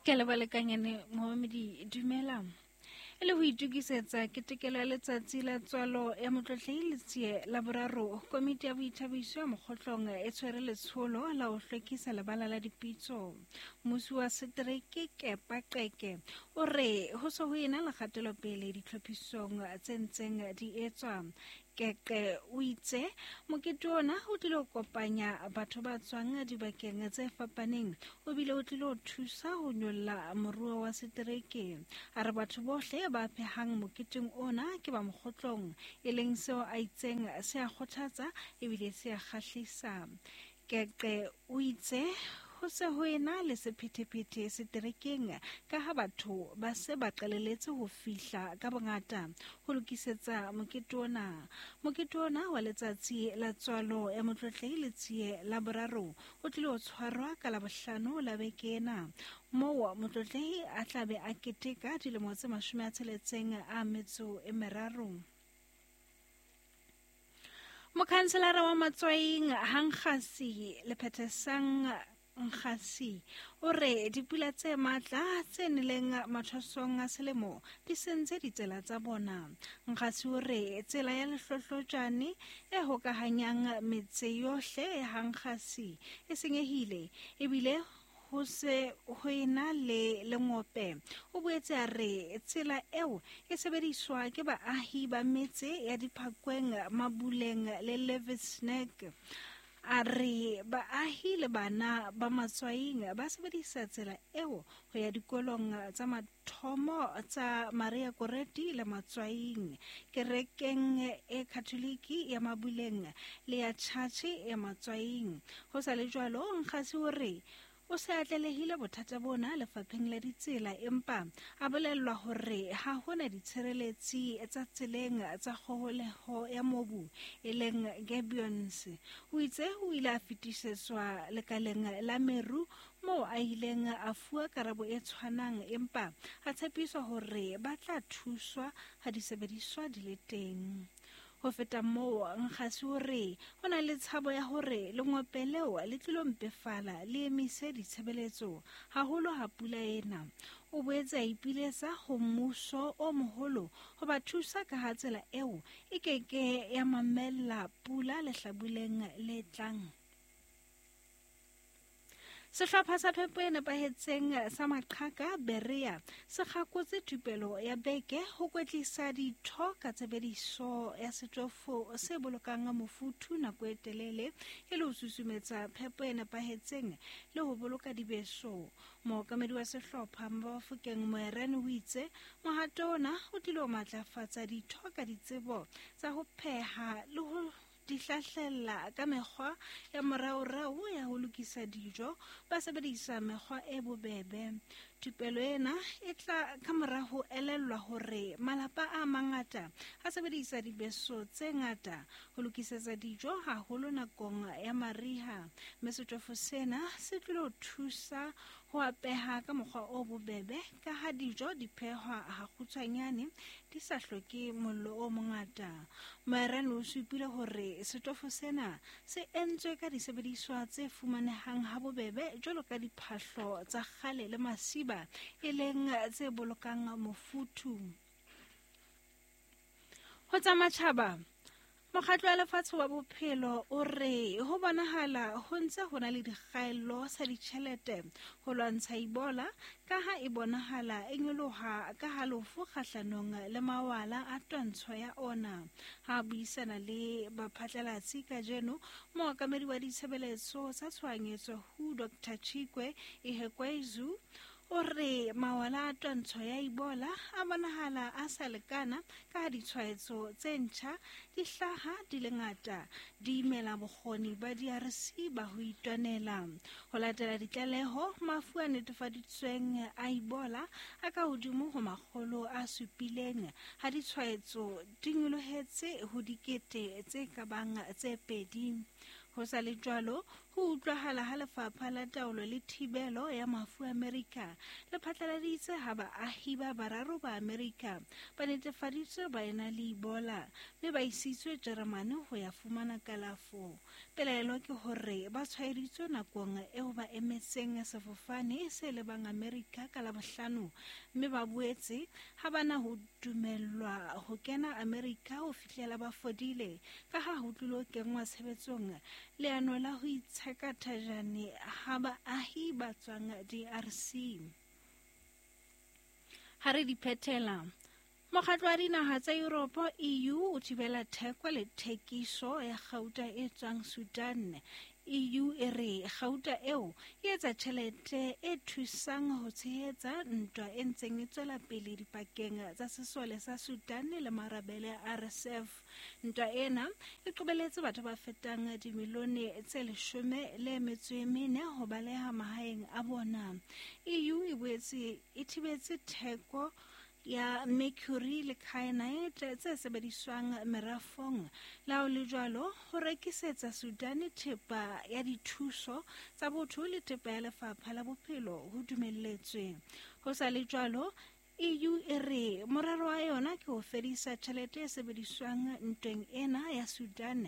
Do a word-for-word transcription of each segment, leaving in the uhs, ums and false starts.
Ke le balekanyane momamedi dumela. E le ho itokisetsa ketekelo ya letsatsi la tswalo ya Motlotlehi Letsie la boraro, komiti ya boithabiso ya Mokgotlong e tshwere letsholo la ho hlwekisa lebala la dipitso. Mmusi wa setereke Kepa Qeke o re ho se ho ena le kgatelopele ditlhophisong tse ntseng di etswa. Keqe o itse mokete ona o tlile ho kopanya batho ba tswang dibakeng tse fapaneng, o bile o tlile ho thusa ho nyolla moruo wa setereke. A re batho bohle ba phehang moketeng ona ke ba Mokgotlong, e leng seo a itseng se a kgothatsa ebile se a kgahlisa. Keqe o itse ho se ho ena le sephethephethe seterekeng ka ha batho ba se ba qaleletse ho fihla ka bongata ho lokisetsa mokete ona. Mokete ona wa letsatsi la tswalo ya Motlotlehi Letsie la boraro o tlile ho tshwarwa ka Labohlano la beke ena, moo Motlotlehi a tla be a keteka dilemo tse mashome a tsheletseng a metso e meraro. Mokhanselara wa Matswaing Hankgasi Lephethesang Nkgasi o re dipula tse matla tse neleng mathwasong a selemo di sentse ditsela tsa bona. Nkgasi o re tsela ya Lehlohlojane e hokahanyang metse yohle ya Hankgasi e senyehile ebile ho se ho ena le lengope. O boetse a re tsela eo e sebediswa ke baahi ba metse ya Diphakweng, Mabuleng le Levesnek. A re baahi le bana ba Matswaing ba sebedisa tsela eo ho ya dikolong tsa mathomo tsa Maria Goretti le Matswaing, kerekeng e Katholiki ya Mabuleng le ya Tjhatjhe ya Matswaing. Ho sa le jwalo, Nkgasi o re o se atlelehile bothata bona lefapheng la ditsela, empa a bolellwa hore ha hona ditshireletsi tsa tseleng tsa kgoholeho ya mobu e leng gabions. O itse o ile a fetisetswa lekaleng la meru moo a ileng a fuwa karabo e tshwanang, empa a tshepiswa hore ba tla thuswa ha disebediswa di le teng. Ho feta moo, Nkgasi o re ho na le tshabo ya hore lengope leo le tlilo mpefala le emise ditshebeletso haholo ha pula ena. O boetse a ipiletsa ho mmuso o moholo ho ba thusa ka ha tsela eo e keke ya mamella pula lehlabuleng le tlang. Sehlopha sa phepo e nepahetseng sa Maqhaka Berea se kgakotse thupelo ya beke ho kwetlisa ditho ka tshebediso ya setofo se bolokang mofuthu nako e telele e le ho susumetsa phepo e nepahetseng le ho boloka dibeso. Mookamedi wa sehlopha Mabafokeng Moerane o itse mohato ona o tlilo matlafatsa ditho ka ditsebo tsa ho pheha le ho di hlahlella ka mekgwa ya moraorao ya ho lokisa dijo ba sebedisa mekgwa e bobebe. Thupelo ena e tla ka mora ho elellwa hore malapa a mangata a sebedisa dibeso tse ngata ho lokisetsa dijo haholo nakong ya mariha, mme setofo sena se tlilo thusa ho apeha ka mokgwa o bobebe ka ha dijo di phehwa hakgutshwanyane di sa hloke mollo o mongata. Moerane o supile hore setofo sena se entswe ka disebediswa tse fumanehang ha bobebe jwalo ka diphahlo tsa kgale le masiba e leng tse bolokang mofuthu. Ho tsa matjhaba, Mokgatlo wa Lefatshe wa Bophelo o re ho bonahala ho ntse ho na le dikgaello sa ditjhelete ho lwantsha Ebola ka ha e bonahala e nyoloha ka halofo kgahlanong le mawala a twantsho ya ona. Ha a buisana le baphatlalatsi kajeno, mookamedi wa ditshebeletso tsa tshohanyetso W H O Doctor Chikwe Ihekweazu o re mawala a twantsho ya Ebola a bonahala a sa lekana ka ha ditshwaetso tse ntjha di hlaha di le ngata, di imela bokgoni ba D R C ba ho itwanela. Ho latela ditlaleho, mafu a netefaditsweng a Ebola a ka hodimo ho makgolo a supileng, ha ditshwaetso di nyolohetse ho dikete tse ka bang tse pedi. Ho sa le jwalo, Ho utlwahala ha lefapha la taolo le thibelo ya mafu Amerika le phatlaladitse ha baahi ba bararo ba Amerika ba netefaditswe ba ena le Ebola mme ba isitswe Jeremane ho ya fumana kalafo. Pelaelo ke hore ba tshwaeditswe nakong eo ba emetseng sefofane se lebang Amerika ka Labohlano, mme ba boetse ha bana ho dumellwa ho kena Amerika ho fihlela ba fodile ka ha ho tlilo kenngwa tshebetsong leano la ho itsheka thajane ha baahi ba tswang D R C. Ha re di phethela, Mokgatlo wa dinaha tsa Yuropo E U o thibela theko le thekiso ya kgauta e tswang Sudan. E U e re kgauta eo e etsa tjhelete e thusang ho tshehetsa ntwa e ntseng e tswela pele dipakeng tsa sesole sa Sudan le marabele a R S F. Ntwa ena e qobelletse batho ba fetang dimilione tse leshome le metso e mene ho baleha mahaeng a bona. E U e boetse e thibetse theko ya mercury le kyanite tse sebediswang merafong. Le ha ho le jwalo, ho rekisetsa Sudan thepa ya dithuso tsa botho le thepa ya lefapha la bophelo ho dumelletswe. Ho sa le jwalo, E U e re morero wa yona ke ho fedisa tjhelete e sebediswang ntweng ena ya Sudan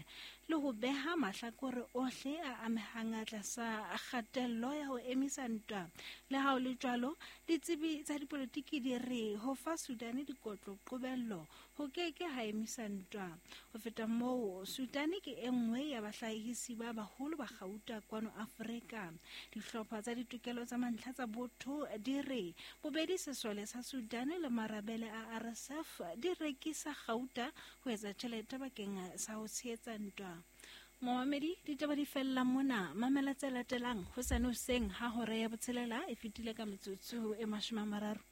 le ho beha mahlakore ohle a amehang tlasa kgatello ya ho emisa ntwa. Le ha ho le jwalo, ditsebi tsa dipolotiki di re ho fa Sudan dikotlo qobello ho ke ke ha emisa ntwa. Ho feta moo, Sudan ke e nngwe ya bahlahisi ba baholo ba kgauta kwano Afrika. Dihlopha tsa ditokelo tsa mantlha tsa botho di re bobedi sesole sa Sudan le marabele a R S F di rekisa kgauta ho etsa tjhelete bakeng sa ho tshehetsa ntwa. Momamedi, ditaba di fella mona. Mamela tse latelang hosane hoseng ha hora ya botshelela e fetile ka metsotso e mashome a mararo.